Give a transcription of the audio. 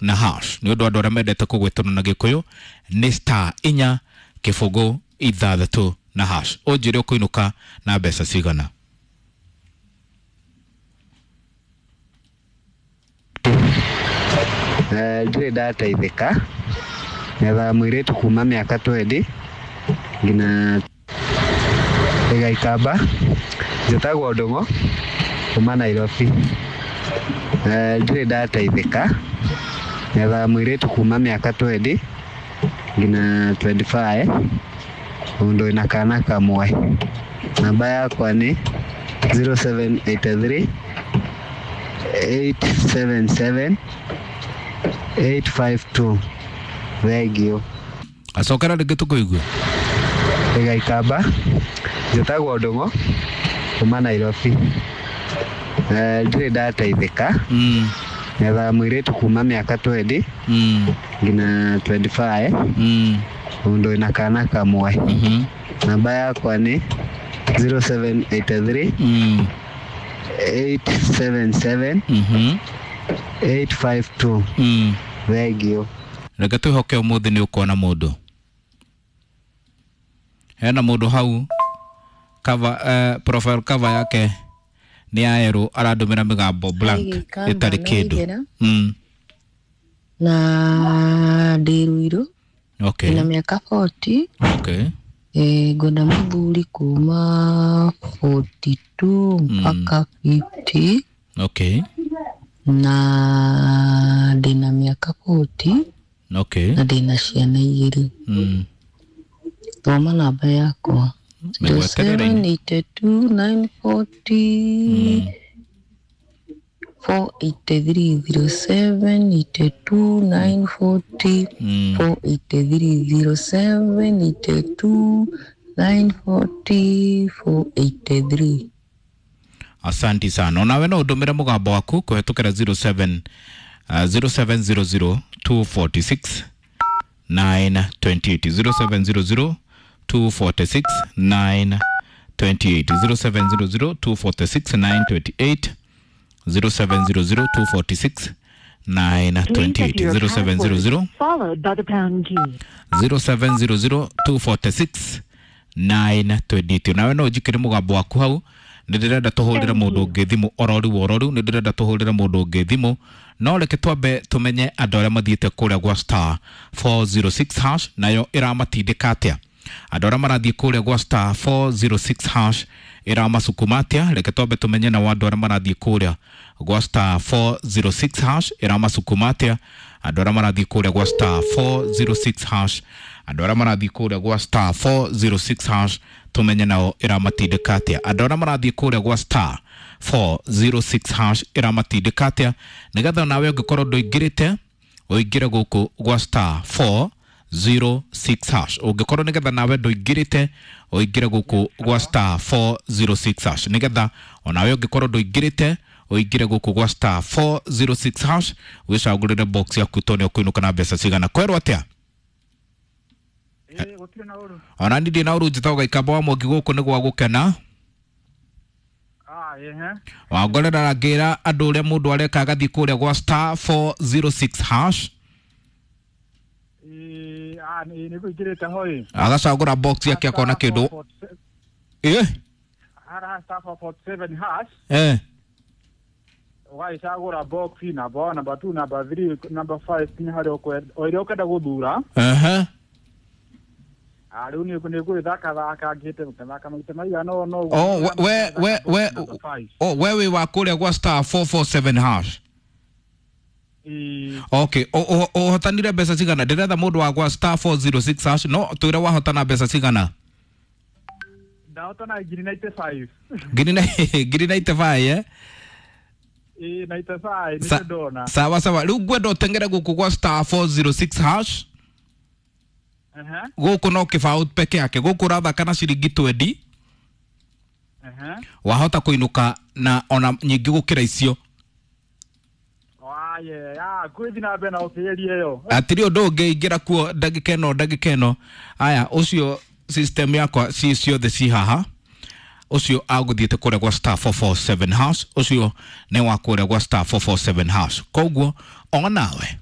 na hash. Nĩ ũndũ andũ arĩa mendete kũgwĩtana na Gĩkũyũ nĩ star 4 0 6 na hash. Ũnjĩre ũkũinũka na mbeca cigana. Ndirĩ ndateithĩka, ngethaga mũirĩtu kuma mĩaka 20 nginya Gĩgaikamba. Njĩtagwo Ndũng'ũ kuma Nairobi. Ndirĩ ndateithĩka, ngethaga mũirĩtu kuma mĩaka 20 nginya 25, mũndũ wĩna kana kamwe. Namba yakwa nĩ 0783 877 852. Thengiũ. Acokera rĩngĩ tũkũigue. Gĩgaikamba, njĩtagwo Ndũng'ũ kuma Nairobi. Ndirĩ ndateithĩka, ngethaga mũirĩtu kuma mĩaka 20 nginya 25, mũndũ wĩna kana kamwe. Namba yakwa nĩ 0783 877 852. Thengiũ. Reke twĩhoke ũmũthĩ nĩ ũkuona mũndũ. Hena mũndũ hau cover, profile cover yake nĩ ya erũ, arandũmĩra mĩgambo blank Gĩkamba ĩtarĩ kĩndũ. Naigera. Na ndĩ Ruiru. Okay. Ndĩna mĩaka 40. Okay. Ngwenda mũthuri kuma 42 mpaka 50. Okay. Na ndĩna mĩaka 40. Okay. Na ndĩna ciana igĩrĩ. Thoma namba yakwa. Mĩgweterere-inĩ. 0782 940 483 0782 940 483 0782 940 483. Asanti sana. Onawe no ũndũmĩre mũgambo waku kũhetũkĩra 07 0700 246 928, 0700 246 928, 0700 246 928, 0700 246 928, 0700 followed by the pound key. 0700 246 928. Nawe no njikire mũgambo waku hau, nĩ ndĩrenda tũhũrĩre mũndũ ũngĩ thimũ ororiu ororiu, nĩ ndĩrenda tũhũrĩre mũndũ ũngĩ thimũ, no reke twambe tũmenye andũ arĩa mathiĩte kũrĩa gwa star 406 hash nayo ĩramatindĩka atĩa. Andũ arĩa marathiĩ kũrĩa gwa star 406 hash ĩramasukuma atĩa. Reke twambe tũmenye nao andũ arĩa marathiĩ kũrĩa gwa star 406 hash ĩramasukuma atĩa. Andũ arĩa marathiĩ kũrĩa gwa star 406 hash, andũ arĩa marathiĩ kũrĩa gwa star 406 hash tũmenye nao ĩramatindĩka atĩa. Andũ arĩa marathiĩ kũrĩa gwa star 406 hash ĩramatindĩka atĩa, nĩgetha nawe ũngĩkorwo ndũingĩrĩte ũingĩre gũkũ gwa star 406 hash. Ũngĩkorwo nĩgetha nawe ndũingĩrĩte ũingĩre gũkũ gwa star 406 hash, nĩgetha onawe ũngĩkorwo ndũingĩrĩte ũingĩre gũkũ gwa star 406 hash wĩcagũrĩre box yaku tondũ ũkũinũka na mbeca cigana. Kwerwo atĩa? Ona niĩ ndĩ na ũru, njĩtagwo Gaikamba wa Mwangi, gũkũ nĩ gwa gũkena. Wangorera ngĩra andũ ũrĩa mũndũ areka agathiĩ kũrĩa gwa star 406 hash agacagũra box yake akona kĩndũ. Star 447 hash. Ũgagĩcagũra box number 1, number 2, number 3, number 5 nginya harĩa ũkwenda, o ĩrĩa ũkwenda gũthura. Rĩu nĩ ngũgĩthaka thaka ngĩte gũthaka maita maigana ũna ũguo. Oh, we we we oh, we wĩ wa kũrĩa gwa star 447 hash. Okay, ũhotanire mbeca cigana? Ndĩretha mũndũ wa gwa star 406 hash, no twĩre wahotana mbeca cigana. Ndahotana ngiri 95. Ngiri 95, eh? Ĩĩ, 95 nĩcio ndona. Sawa sawa, rĩu ngwenda ũteng'ere gũkũ gwa star 406 hash. Gũkũ no kĩbaũ peke yake, gũkũ ũrathaka na ciringi 20, wahota kũinũka na ona nyingĩ gũkĩra icio. Kwĩthi na mbere na ũkĩgeria ĩyo. Hatirĩ ũndũ ũngĩ, ingĩra kuo ndagĩka ĩno, ndagĩka ĩno. Aya, ũcio system yakwa ci ciothe ci haha. Ũcio agũthiĩte kũrĩa gwa star 447 hash, ũcio nĩ wa kũrĩa gwa star 447 hash, koguo onawe